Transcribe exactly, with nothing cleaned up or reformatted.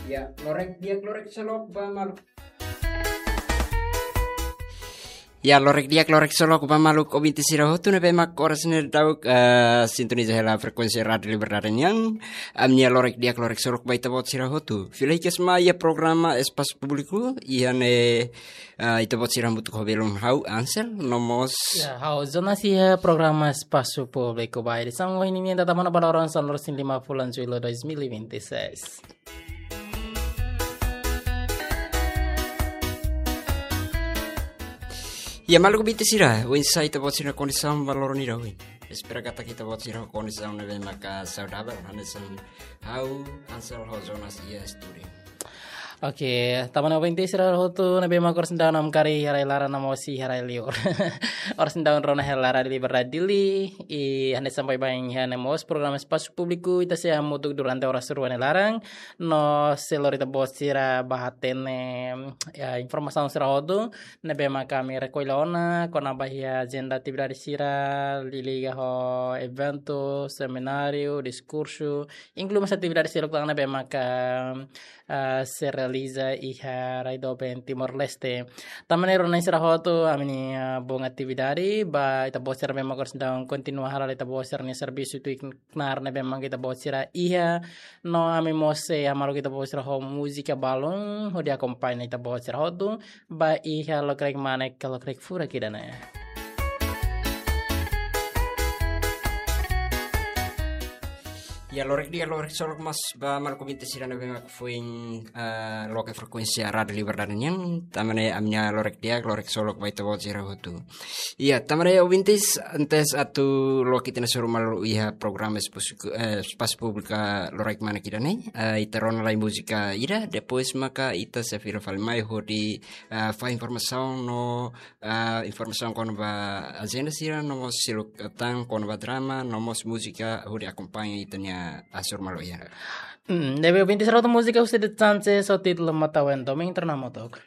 Ya, lorek di'ak, lorek solok ba maluk. Ya, lorek di'ak, lorek solok ba maluk ouvinte sira hotu ne'ebé mak oras ne'e daudaun, eh, sintoniza hela frekuénsia Rádiu Liberdade nian. Ami-nia lorek di'ak, lorek solok ba ita-boot sira hotu. Fila hikas mai iha programa Espasu Públiku, iha ne'e, eh, ita-boot sira hamutuk ho belun ha'u Ansel, no mós. Ya, ha'u Jonas iha programa Espasu Públiku ba edisaun ohin nian, data mana ba loron sanulu-resin-lima fulan Jullu dois mil e vinte e seis. Ya, maluk ouvinte sira, oinsá ita-boot sira-nia kondisaun ba loron ida ohin? Espera katak ita-boot sira kondisaun ne'ebé maka saudavel, hanesan ha'u Ansel ho Jonas iha estúdiu. Oke, tanba ne'e ouvinte sira hotu ne'ebé mak oras ne'e daudaun namkari iha rai laran no mós iha rai liur. Oras ne'e daudaun rona hela Rádiu Liberdade Dili, i hanesan baibain iha ne'e mós programa Espasu Públiku, ita sei hamutuk durante oras rua nia laran, no sei lori ita-boot sira ba hatene, ya, informasaun sira hotu ne'ebé maka ami rekolla ona, kona-ba iha ajenda atividade sira, liga ho eventu, semináriu, diskursu, inklui mós atividade seluk tan ne'ebé maka, ah, sei realiza iha rai doben Timor-Leste. Tanba ne'e rona sira hotu, ami-nia, ah, bom atividade ba ita-boot sira ne'ebé mak oras ne'e daudaun kontinua hala'o ita-boot sira-nia servisu tuir knaar ne'ebé mak ita-boot sira iha, no ami mós sei hamaluk ita-boot sira ho múzika balun hodi akompaña ita-boot sira hotu ba iha lokraik-manek ka lokraik furak ida-ne'e. Ya, lorek di'ak, lorek solok mós ba maluk ouvinte sira ne'ebé mak foin, eh, loke frekuénsia Rádiu Liberdade nian, tanba ne'e ami-nia lorek di'ak, lorek solok ba ita-boot sira hotu. Ya, tanba ne'e ouvintes, antes atu loke ita-nia hasoru malu iha programa Espasu, eh, Espasu Públiku lokraik-manek ida-ne'e, eh, ita rona lai múzika ida, depois maka ita sei fila fali mai hodi, eh, fahe informasaun no, eh, informasaun kona-ba ajenda sira, no mós seluk tan kona-ba drama, no mós múzika hodi akompaña ita-nia hasoru malu iha. Hmm, ne'ebé ouvinte sira hotu, múzika husi The Chances ho títulu Mata Wento, imi entra na motok.